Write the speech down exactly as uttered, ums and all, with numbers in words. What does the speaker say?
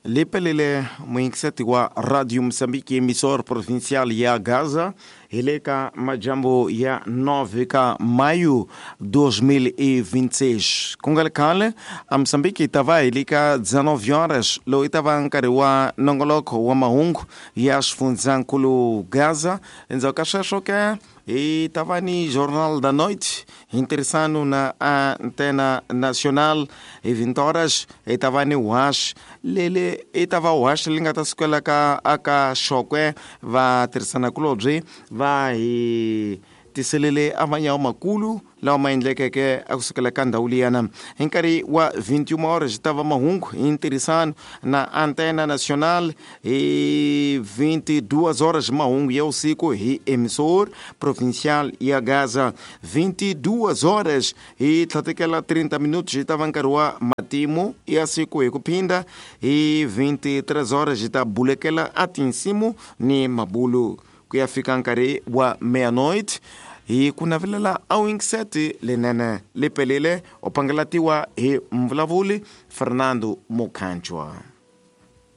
Lipelele muingiseti wa Radio Mozambique, emissor provincial ya Gaza, hi le ka majambu ya nove ka maio dois mil e vinte e seis. Ku nga ri khale a Mozambique yi ta va hi le ka dezenove horas lowu yi ta va nkarhi wa nongoloko wa mahungu ya xifundzankulu Gaza. Endzhaku ka sweswo ke hi ta va ni Jornal da Noite hi ntirhisano na Antena Nacional. Hi vinte horas hi ta va ni Wash lele i ta va Wash li nga ta sukela ka aka Xokwe va tirhisanakulobye va hi tiselele a manyawa makulu lawa ma endlekeke a kusukela ka ndhawu liyana. Hi nkarhi wa vinte e uma horas ta va mahungu hi ntirhisano na Antena Nacional. Hi vinte e duas horas mahungu ya usiku hi emissor provincial ya Gaza. vinte e duas horas hi tlhatekela trinta minutos hi ta va nkarhi wa matimu ya siku hi ku phinda. Hi vinte e três horas hi ta bulekela a tinsimu ni mabulu ku ya fika nkarhi wa meia-noite. Hi ku navelela a wingiseti lenene li pelele u pangalatiwa hi mvulavuli Fernando Mukhanjwa.